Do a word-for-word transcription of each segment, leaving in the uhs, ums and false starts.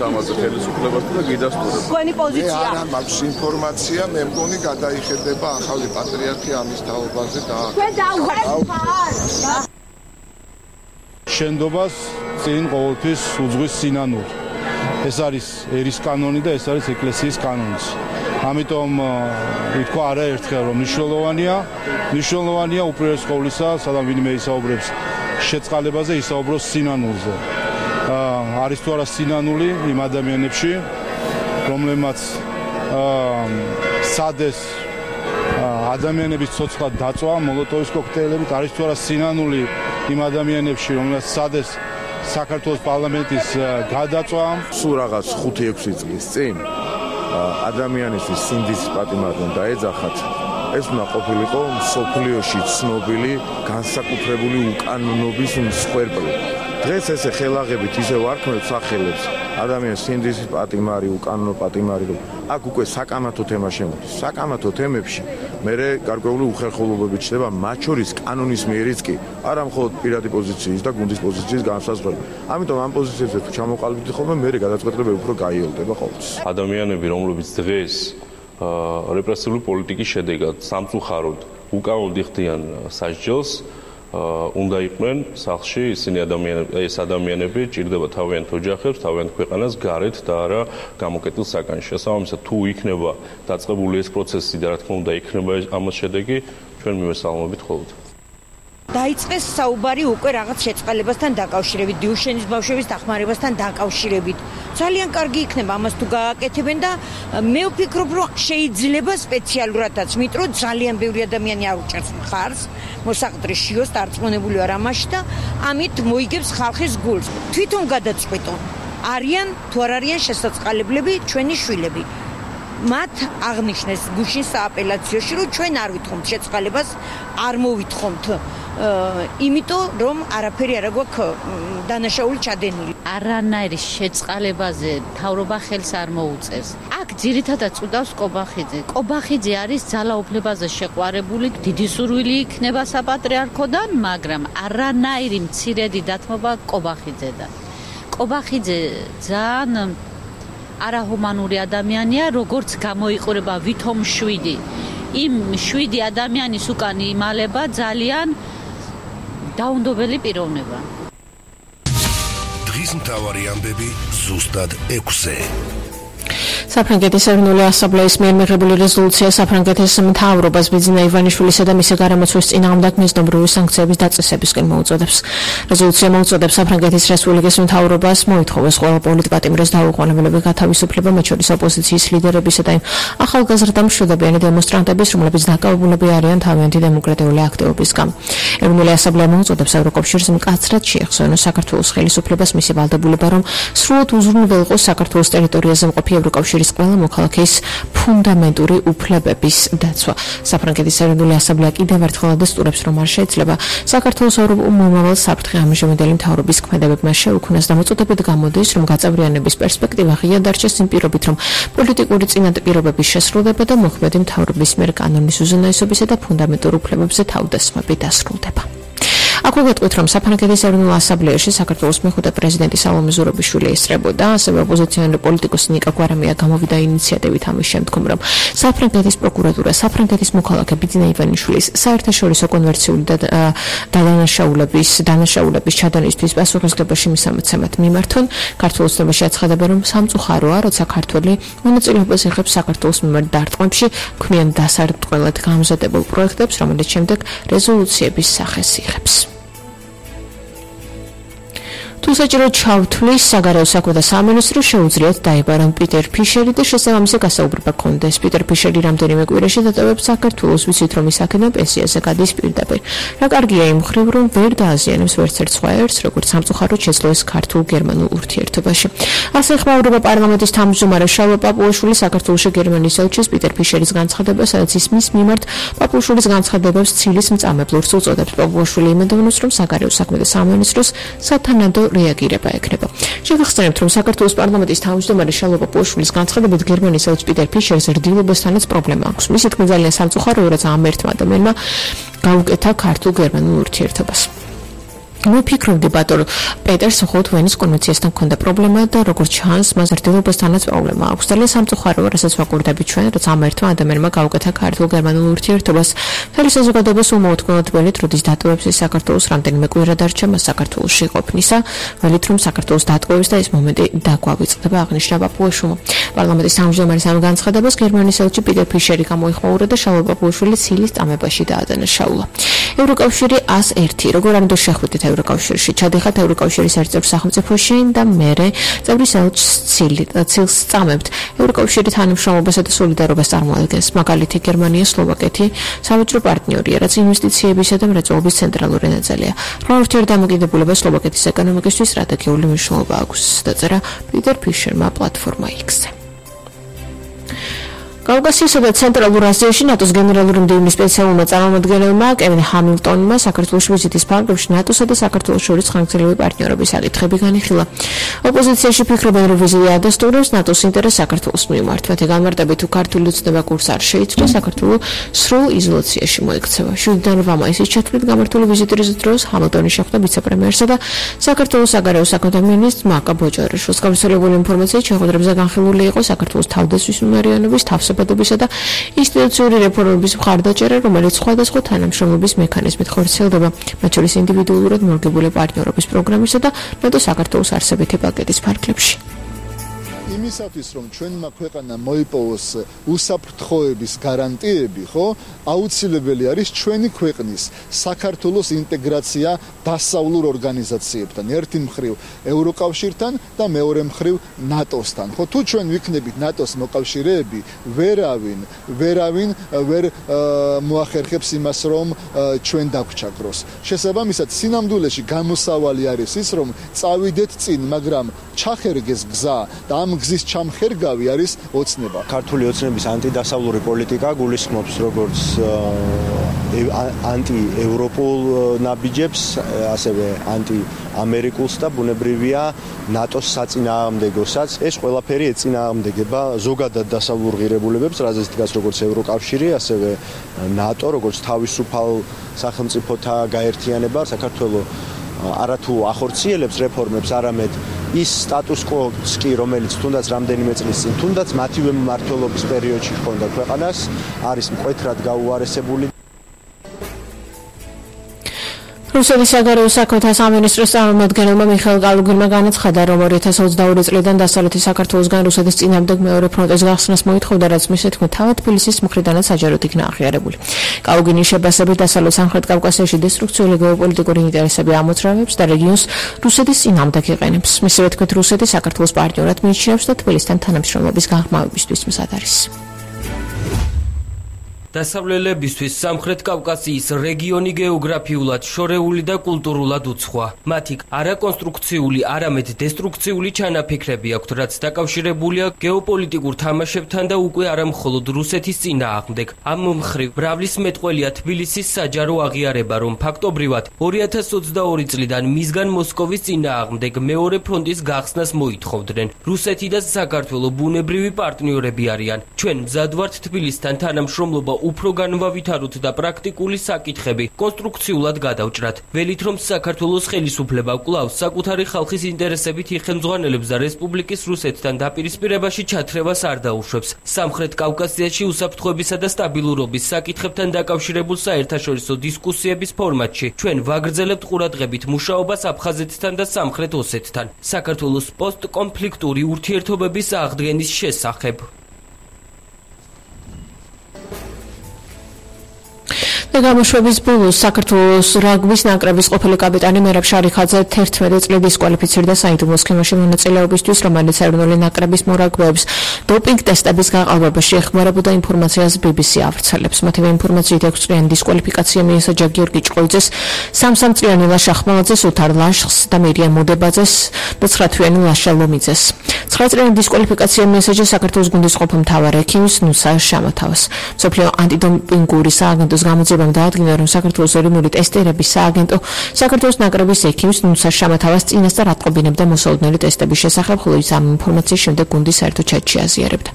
ამაზე ხელისუფლებასთან და გიდასტურებ. თქვენი პოზიცია. მე არ მაქვს ინფორმაცია, მე მგონი გადაიხედება ახალი პატრიარქი ამის თაობაზე და თქვენ დაუღალხარ. შენდობას წინ ყოველთვის უძღვის სინანული. ეს არის ერის კანონი და ეს არის ეკლესიის კანონიც. ამიტომ ითქვა არაერთხელ რომ მნიშვნელოვანია, მნიშვნელოვანია უპირველეს ყოვლისა, სადაც ვინმე ისაუბრებს შეწყალებაზე, ისაუბროს სინანულზე. არის თუ არა სინანული იმ ადამიანებში, რომლებმაც სადეს ადამიანების ცოცხლად დაწვა მოლოტოვის კოქტეილებით, არის თუ არა სინანული იმ ადამიანებში, რომლებმაც სადეს საქართველოს პარლამენტის გადაწვა. სულ რაღაც ხუთი ექვსი წლის წინ ადამიანისთვის სინდის პატიმარი უნდა ეძახათ. ეს უნდა ყოფილიყო მსოფლიოში ცნობილი განსაკუთრებული უკანონობის მსხვერპლი. დღეს ესე ხელაღებით ისე ვარქმევთ სახელებს ადამიანის სინდის პატიმარი, უკანონო პატიმარი. აქ უკვე საკამათო თემა შემოდის. საკამათო თემებში მე გარკვეული უხერხულობები ჩნდება, მათ შორის კანონის მიერიც კი, არა მხოლოდ პირადი პოზიციის და გუნდის პოზიციის განსაზღვრება. ამიტომ ამ პოზიციებზე თუ ჩამოყალიბდით ხოლმე, მე გადაწყვეტილებები უფრო გაიოლდება ყოველთვის. ადამიანები, რომლებიც დღეს რეპრესიული პოლიტიკის შედეგად სამწუხაროდ უკანონოდ იხდიან სასჯელს, უნდა იყვნენ სახლში. ისინი ადამიანები, ეს ადამიანები ჭირდება თავიანთ ოჯახებს, თავიანთ ქვეყანას გარეთ და არა გამოკეტილ საკანში. შესაბამისად, თუ იქნება დაწყებული ეს პროცესი და რა თქმა უნდა იქნება ამას შედეგი, ჩვენ მივესალმებით ხოლმე. დაიწყეს საუბარი უკვე რაღაც შეწყალებასთან დაკავშირებით, დიუშენის ბავშვების დახმარებასთან დაკავშირებით. ძალიან კარგი იქნება ამას თუ გააკეთებენ და მე ვფიქრობ, რომ შეიძლება სპეციალურადაც, იმიტომ რომ ძალიან ბევრი ადამიანი არ უჭერს მხარს, მოსაყდრის შიოს დარწმუნებული ვარ ამაში და ამით მოიგებს ხალხის გულს. თვითონ გადაწყვეტონ, არიან თუ არ არიან შესაწყალებლები ჩვენი შვილები. მათ აღნიშნეს გუშინ სააპელაციოში, რომ ჩვენ არ ვითხოვთ შეწყალებას, არ მოვითხოვთ იმიტომ რომ არაფერი არ გვაქვს დანაშაული ჩადენილი. არანაირი შეწყალებაზე მთავრობა ხელს არ მოუწევს. აქ ძირითადად წუდავს კობახიძე. კობახიძე არის ძალაუფლებაზე შეყვარებული, დიდი სურვილი იქნება საპატრიარქოდან, მაგრამ არანაირი მცირედი დათმობა კობახიძედან. კობახიძე ძალიან არაჰუმანური ადამიანია, როგორც გამოიყურება ვითომ შვიდი. იმ შვიდი ადამიანის უკან იმალება ძალიან დაუნდობელი პიროვნება. დღის მთავარი ამბები ზუსტად ექვსზე. საფრანგეთის ეროვნული ასამბლეის მიერ მიღებული რეზოლუცია საფრანგეთის მთავრობას ბიძინა ივანიშვილისა და მისი გარემოცვის წინააღმდეგ მიზნობრივი სანქციების დაწესებისკენ მოუწოდებს. რეზოლუცია მოუწოდებს საფრანგეთის რესპუბლიკის მთავრობას მოითხოვოს ყველა პოლიტპატიმრის დაუყოვნებლები გათავისუფლება, მათ შორის ოპოზიციის ლიდერებისა და იმ ახალგაზრდა მშვიდობიანი დემონსტრანტების, რომლებიც დაკავებულები არიან თავიანთი დემოკრატიული აქტივობისგან. ეროვნული ასამბლეა მოუწოდებს ევროკავშირს მკაცრად შეეხსოენოს საქართველოს ხელისუფლებას მისი ვალდებულება, რომ სრულად უზრუნველყოს საქართველოს ტერიტორიაზე მყოფი ევროკავშირის ყველა მოქალაქის ფუნდამენტური უფლებების დაცვა. საფრანგეთის ეროვნული ასამბლეა კიდევ ერთხელ ადასტურებს, რომ არ შეიძლება საქართველოს მომავალ საფრთხე ამჟამინდელი მთავრობის ქმედებებმა შეუქმნას და მოწოდებით გამოდის, რომ გაწევრიანების პერსპექტივა ღია დარჩეს იმ პირობით, რომ პოლიტიკური წინაპირობების შესრულება და მოქმედი მთავრობის მიერ კანონის უზენაესობისა და ფუნდამენტურ უფლებებზე თავდასხმები დასრულდება. აქ ვუგეთქვით, რომ საფრანგეთის ეროვნულ ასამბლეაში საქართველოს მეხუთე პრეზიდენტი სალომე ზურაბიშვილი ესწრებოდა, ასევე ოპოზიციონერი პოლიტიკოსი ნიკა გვარამია გამოვიდა ინიციატივით ამის შემდგომ, რომ საფრანგეთის პროკურატურა საფრანგეთის მოქალაქე ბიძინა ივანიშვილის საერთაშორისო კონვერციული და დანაშაულების დანაშაულების ჩადენისთვის პასუხისმგებაში მისამცემად მიმართონ. ქართულ ოცნებაში აცხადება, რომ სამწუხაროა, როცა ქართველი მონაწილეობას იღებს საქართველოს მიმართ დარტყმებში, ქმნიან დასარტყმელად გამზადებულ პროექტებს, რომელიც შემდეგ რეზოლუციების სახეს იღებს. თუ საჭირო ჩავთვლის საგარეო საქმეთა სამინისტრო შეუძლიათ დაიბარონ პიტერ ფიშერი და შესაბამისი გასაუბრება კონდეს. პიტერ ფიშერი რამდენიმე კვირაში დატოვებს საქართველოს, ვიცით რომ ის აქედან პენსიაზე გადის პირდაპირ. რა კარგია იმ მხრივ, რომ ვერ დააზიანებს ვერცერთ სხვა ერთს, როგორც სამწუხაროდ შეძლო ეს ქართულ-გერმანულ ურთიერთობაში. ასე ხმაურება პარლამენტის თავმჯდომარე შალვა პაპუაშვილი საქართველოში გერმანიის ელჩის პიტერ ფიშერის განცხადება, სადაც ის მის მიმართ პაპუაშვილის განცხადებებს ცილის მწამებლურს უწოდებს. პაპუაშვილი იმედოვნებს, რომ საგარეო საქმეთა სამინისტროს სათანადო რეაგირება ექნება. შევახსენებთ, რომ საქართველოს პარლამენტის თავმჯდომარე შალვა პაპუაშვილის განცხადებით გერმანიის ელჩ პიტერ ფიშერს რდილობასთანაც პრობლემა აქვს. მისი თქმით ძალიან სამწუხაროა, რომ ამ ერთმა ადამიანმა გაუკეთა ქართულ-გერმანულ ურთიერთობას. მოფიქრობდი ბატონო პეტერს მხოლოდ ვენის კონვენციასთან ჰქონდა პრობლემა და როგორც ჩანს მას ერთობასთანაც პრობლემა აქვს. ძალიან სამწუხაროა, რასაც ვაკვირდებით ჩვენ, რომ ამ ერთმა ადამიანმა გაუკეთა ქართულ-გერმანულ ურთიერთობას. მთელი საზოგადოებას უმოუთმენთ ველით, როდის დატოვებს ის საქართველოს რამდენიმე კვირა დარჩა მას საქართველოში ყოფნისა, ველით რომ საქართველოს დატოვებს და ეს მომენტი დაგვავიწყდება, აღნიშნა პაპუაშვილმა. პარლამენტის თავმჯდომარის ამ განცხადებას გერმანიის ელჩი პიტერ ფიშერი გამოიხმაურა და შალვა პაპუაშვილი ცილის წამებაში დაადანაშაულა. ევროკავშირი ას ერთი როგორ ამიტომ შეხვდით ევროკავშირში ჩადიხართ ევროკავშირის ერთ-ერთ სახელმწიფოში და მერე წევრის ელჩს ცილს წამებთ ევროკავშირი თანამშრომლობასა და სოლიდარობას წარმოადგენს მაგალითი გერმანია სლოვაკეთი სამეჯრო პარტნიორია რაც ინვესტიციებისა და მრეწველობის ცენტრალური ნაწილია რა ურთიერთდამოკიდებულება სლოვაკეთის ეკონომიკისთვის სტრატეგიული მნიშვნელობა აქვს დაწერა პიტერ ფიშერმა პლატფორმა X-ზე კავკასიასა და ცენტრალურ აზიაში ნატოს გენერალური მდივნის სპეციალურმა წარმომადგენელმა კევინ ჰამილტონმა საქართველოს ვიზიტის ფარგლებში ნატოსა და საქართველოს შორის ხანგრძლივი პარტნიორობის საკითხები განიხილა. ოპოზიციაში ფიქრობენ, რომ ვიზიტი ადასტურებს ნატოს ინტერესს საქართველოს მიმართ. მათი განმარტებით, თუ ქართული უცნობა კურსს არ შეიცვლა, საქართველოს სრულ იზოლაციაში მოექცევა. შვიდიდან რვა მაისის ჩათვლით გამართული ვიზიტის დროს ჰამილტონი შეხვდა ვიცე-პრემიერსა და საქართველოს საგარეო საქმეთა მინისტრს მაკა ბოჭარაშვილს. გავრცელებული ინფორმაციით შეხვედრებზე განხილული იყო საქართველოს თავდაცვის უმარიანობის თავსა საბადობისა და ინსტიტუციური რეფორმების მხარდაჭერა, რომელიც სხვადასხვა თანამშრომლობის მექანიზმით ხორციელდება, მათ შორის ინდივიდუალურად მორგებული პარტნიორობის პროგრამისა და ნატო საქართველოს არსებითი პაკეტის ფარგლებში. იმისათვის რომ ჩვენმა ქვეყანამ მოიპოვოს უსაფრთხოების გარანტიები, ხო, აუცილებელი არის ჩვენი ქვეყნის საქართველოს ინტეგრაცია დასავლურ ორგანიზაციებთან, ერთი მხრივ ევროკავშირთან და მეორე მხრივ ნატოსთან. ხო, თუ ჩვენ ვიქნებით ნატოს მოკავშირეები, ვერავინ, ვერავინ ვერ მოახერხებს იმას, რომ ჩვენ დაგვჩაგროს. შესაბამისად, სინამდვილეში გამოსავალი არის ის, რომ წავიდეთ წინ, მაგრამ ჩახერგეს გზა და ამ გზის ჩამხერგავი არის ოცნება. ქართული ოცნების ანტიდასავლური პოლიტიკა გულისხმობს როგორც ანტიევროპულ ნაბიჯებს, ასევე ანტიამერიკულს და ბუნებრივია ნატოს საწინააღმდეგოსაც. ეს ყველაფერი ეწინააღმდეგება ზოგადად დასავლურ ღირებულებებს, რაზეც დგას როგორც ევროკავშირი, ასევე ნატო, როგორც თავისუფალ სახელმწიფოთა გაერთიანება. საქართველოს არათუ ახორციელებს რეფორმებს, არამედ ის სტატუს კვოს კი, რომელიც თუნდაც რამდენიმე წლის წინ, თუნდაც მათივე მმართველობის პერიოდში ჰქონდა ქვეყანას, არის მკვეთრად გაუარესებული. რუსეთის საგარეო საქმეთა სამინისტროს წარმომადგენელმა მიხეილ კალუგინმა განაცხადა, რომ ორი ათას ოცდაორი წლიდან დასავლეთი საქართველოსგან რუსეთის წინააღმდეგ მეორე ფრონტის გახსნას მოითხოვდა, რაც მისი თქმით თავად თბილისის მხრიდანაც საჯაროდ იქნა აღიარებული. კალუგინის შებასებით დასავლეთ სამხრეთ კავკასიაში დესტრუქციული გეოპოლიტიკური ინტერესები ამოძრავებს და რეგიონს რუსეთის წინააღმდეგ იყენებს. მისივე თქმით, რუსეთი საქართველოს პარტნიორად მიიჩნევს და თბილისთან თანამშრომლობის გაღრმავებისთვის მზად არის. დასავლელებისთვის სამხრეთ კავკასიის რეგიონი გეოგრაფიულად შორეული და კულტურულად უცხოა. მათი არაკონსტრუქციული, არამედ დესტრუქციული ჩანაფიქრები აქვთ, რაც დაკავშირებულია გეოპოლიტიკურ თამაშებთან და უკვე არა მხოლოდ რუსეთის წინააღმდეგ. ამ მხრივ მრავლის მეტყველია თბილისის საჯარო აღიარება, რომ ფაქტობრივად ორი ათას ოცდაორი წლიდან მისგან მოსკოვის წინააღმდეგ მეორე ფრონტის გახსნას მოითხოვდნენ. რუსეთი და საქართველო ბუნებრივი პარტნიორები არიან. ჩვენ მზად ვართ თბილისთან თანამშრომლობა უფრო განვავითაროთ და პრაქტიკული საკითხები კონსტრუქციულად გადავჭრათ. ველით რომ საქართველოს ხელისუფლება კვლავ საკუთარი ხალხის ინტერესებით იხელმძღვანელებს და რესპუბლიკის რუსეთთან დაპირისპირებაში ჩათრევას არ დაუშვებს. სამხრეთ კავკასიაში უსაფრთხოებისა და სტაბილურობის საკითხებთან დაკავშირებულ საერთაშორისო დისკუსიების ფორმატში ჩვენ ვაგრძელებთ ყურადღებით მუშაობას აფხაზეთთან და სამხრეთ ოსეთთან საქართველოს პოსტკონფლიქტური ურთიერთობების აღდგენის შესახებ. გამოშვების ბოლოს საქართველოს რაგბის ნაკრების ყოფილი კაპიტანი მერაბ შარიხაძე თერთმეტი წლით დისკვალიფიცირდა საიდუმლო სქემაში მონაწილეობისთვის, რომელიც ეროვნული ნაკრების მორაგბეებს დოპინგ ტესტების გაყალბებაში ეხმარებოდა ინფორმაციას ბი ბი სი ავრცელებს. მათივე ინფორმაციით ექვს წლიანი დისკვალიფიკაცია მიესაჯა გიორგი ჭყოიძეს, სამ-სამ წლიანი ლაშა ხმელაძეს, უთარ ლაშხს და მირიან მუდებაძეს და ცხრა თვიანი ლაშა ლომიძეს. ცხრა წლიანი დისკვალიფიკაცია მიესაჯა საქართველოს გუნდის ყოფილ მთავარ ექიმს ნუსა შამათაუს. მსოფლიო ანტიდოპინგური სააგენტოს გამოძიება დაადგინა, რომ საქართველოს ეროვნული ტესტერების სააგენტო საქართველოს ნაკრების ექიმს ნუსა შამათავას წინასწარ ატყობინებდა მოსალოდნელი ტესტების შესახებ, ხოლო ის ამ ინფორმაციის შემდეგ გუნდის საერთო ჩატში აზიარებდა.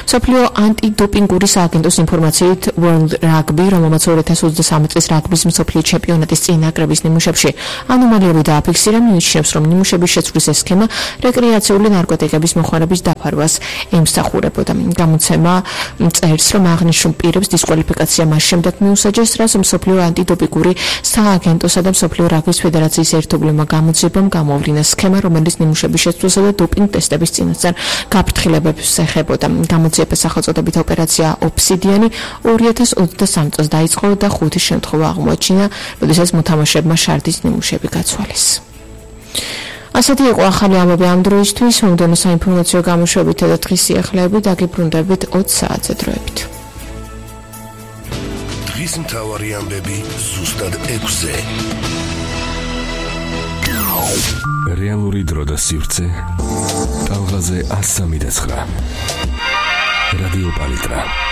მსოფლიო ანტიდოპინგური სააგენტოს ინფორმაციით World Rugby, რომელმაც ორი ათას ოცდასამი წლის რაგბის მსოფლიო ჩემპიონატის წინაკრების ნიმუშებში ანომალიები დააფიქსირა, მიიჩნევს, რომ ნიმუშების შეცვლის ეს სქემა რეკრეაციული ნარკოტიკების მოხმარების დაფარვას ემსახურებოდა. გამოცემა წერს, რომ აღნიშნულ პირებს დისკვალიფიკაცია მას შემდეგ მიუსაჯეს, რაც მსოფლიო ანტიდოპინგური სააგენტოსა და მსოფლიო რაგბის ფედერაციის ერთობლივმა გამოძიებამ გამოავლინა სქემა, რომელიც ნიმუშების შეცვლასა და დოპინგ ტესტების წინასწარ გაფრთხილებებს ეხებოდა. გამოძიების სახელწოდებით ოპერაცია ოფსიდიანი ორი ათას ოცდასამი წელს დაიწყო და ხუთი შემთხვევა აღმოაჩინა, როდესაც მოთამაშეებმა შარდის ნიმუშები გაცვალეს. ასეთი იყო ახალი ამბები ამ დროისთვის, მომდევნო საინფორმაციო გამოშვებითა და დღის სიახლეებით დაგიბრუნდებით ოც საათზე დროებით. დღის მთავარი ამბები ზუსტად ექვსზე. რეალური დრო და სივრცე ტალღაზე ასამი და ცხრა. რადიო პალიტრა